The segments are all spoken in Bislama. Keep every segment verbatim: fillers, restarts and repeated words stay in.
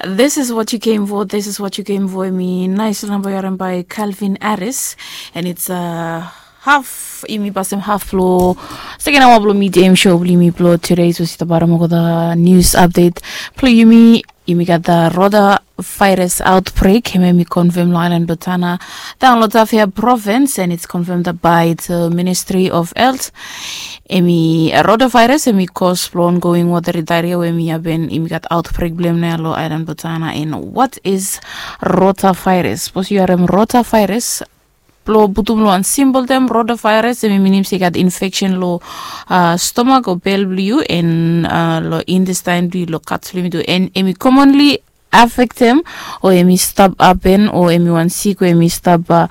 This is what you came for, this is what you came for. Yumi nais namba yu harim by Calvin Harris, and it's uh, half, yumi pasem half blo second hour blo midday show blo yumi blo today. So sita baram olgeta news update blo yumi. Yumi gat the rotavirus outbreak, hemia yumi confirm lo island blo Tanna, daon lo Tafea province, and it's confirmed by the Ministry of Health. Hemi rotavirus hemi cause blo ongoing watery diarrhea we hemi happen, hemi gat outbreak blo hem nao ya lo island blo Tanna. And what is rotavirus? Sapos yu harem rotavirus, blo putum lo wan simple term, rotavirus hemi minim se i gat infection lo uh, stomach o bel blo yu, and uh, lo intestine blo yu, lo guts blo yumi tu, and hemi commonly affectem o hemi stap hapen o hemi wan sik we hemi stap uh,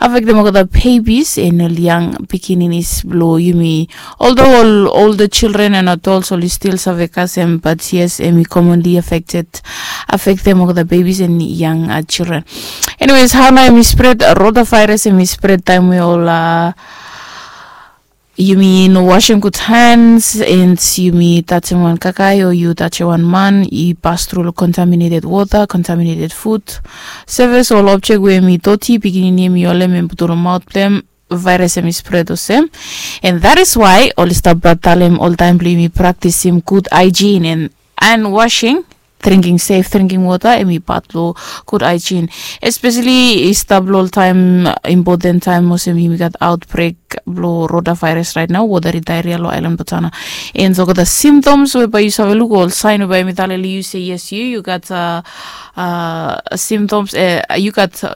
affectem olgeta babies and ol yang pikininis blo yumi. Although ol older children and adults oli still save kasem, but yes, hemi commonly affected, affectem olgeta babies and young uh, children. Anyways, hao nao hemi spread? Uh, rotavirus hemi spread taem we ol uh, yumi no wasem gud hands, and yumi tajem wan kakae o yu tajem wan man, i pas tru lo contaminated water, contaminated food, surface, ol object we hemi doti, pikinini hemi holem, hemi putum lo maot blo hem, virus hemi spread olsem. And that is why oli stap talem oltaem blo yumi praktisim gud hygiene and hand washing, drinking safe drinking water, hemi pat lo gud hygiene. Especially i stap lo ol taem, important taem olsem yumi gat outbreak blo rotavirus right nao, watery diarrhea lo island blo Tanna. And so olgeta symptoms we bae yu save luk, ol sign we bae hemi talem lo yu se yes, yu yu gat uh, uh, symptoms, uh, yu gat uh,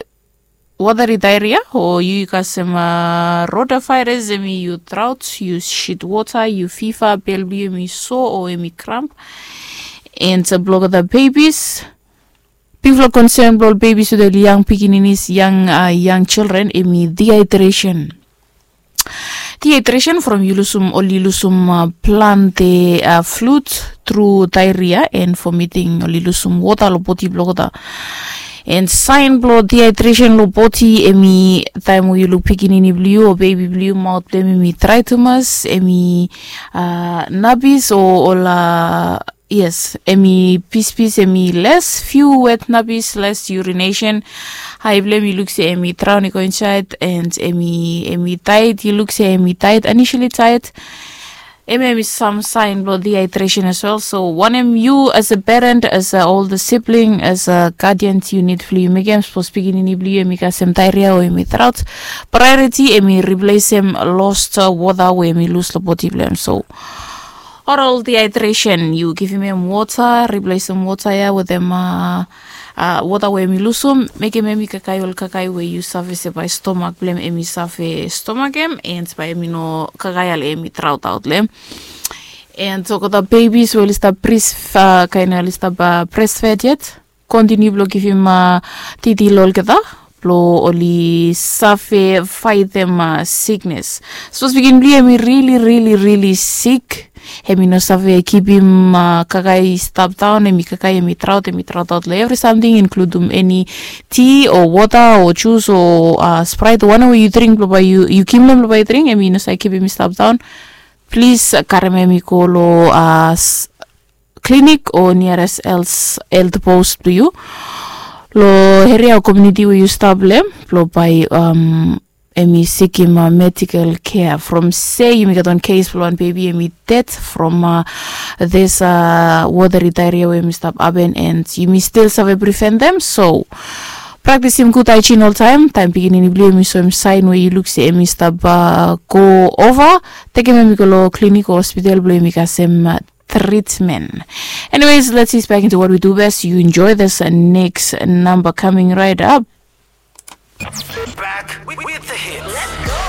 watery diarrhea, o yu kasem uh, rotavirus, hemi yu drought, yu shit water, yu fever, bel blo yu hemi sore o hemi cramp. And uh, blo olgeta babies, bigfala concern blo ol babies wetem ol yang pikininis, yang uh, young children, hemi dehydration. Dehydration from yu lusum, oli lusum uh, plante uh, fluid tru diarrhea and vomiting, oli lusum water lo bodi blo olgeta. And sign blo dehydration lo bodi, hemi taem we yu luk pikinini blo yu o baby blo yu, maot blo hem hemi drae tumas, hemi uh, napis o ol uh, yes, hemi pispis, hemi les, few wet napis, les urination. Ae blo hem yu luk se hemi draon i go insaed, and hemi, hemi tired, yu luk se hemi tired, initially tired. Hemia hemi sam sign blo dehydration as well. So wanem yu as a parent, as a older sibling, as a guardian, yu nid blo yu mekem sapos pikinini blo yu hemi kasem diarrhea o hemi drought, priority hemi replacem lost uh, water we hemi lus lo bodi blo hem. So oral dehydration, yu givim hem water, replacem water ya wetem uh, uh, water we hemi lusum, mekem hemi kakae ol kakae we yu save se bae stomach blo hem hemi save stomach hem, and bae hemi no kakae ya lo hemi drought aot lo hem. And so olgeta babies we oli stap breast, uh, kaen oli stap uh, breastfed yet, continue blo givim uh, titi lo olgeta blo oli save faetem uh, siknes. Sapos pikinini blo yu hemi really really really sik, hemi no save kipim uh, kakae i stap daon, hemi kakae hemi drought, hemi drought aot lo evri samting, inkludum eni ti o water o jus o uh, Sprite o wanem we yu dring, blo bae yu, yu givim lo hem blo bae yu dring, hemi no save kipim i stap daon. Plis uh, karem hemi go lo uh, s- clinic o nearest health, health post blo yu lo eria o komuniti we yu stap lo hem, blo bae um, hemi sikim uh, medical care. From se yumi gat wan case blo wan baby hemi dead from uh, this uh, watery diarrhea we hemi stap hapen, and yumi still save preventem. So praktisim gud hygiene oltaem. Taem pikinini blo yu hemi soem sign we yu luk se hemi stap uh, go over, tekem hemi go lo clinic o hospital blo hemi kasem uh, treatment. Anyways, let's ease back into what we do best. You enjoy this uh, next number coming right up. Back with, with the hits.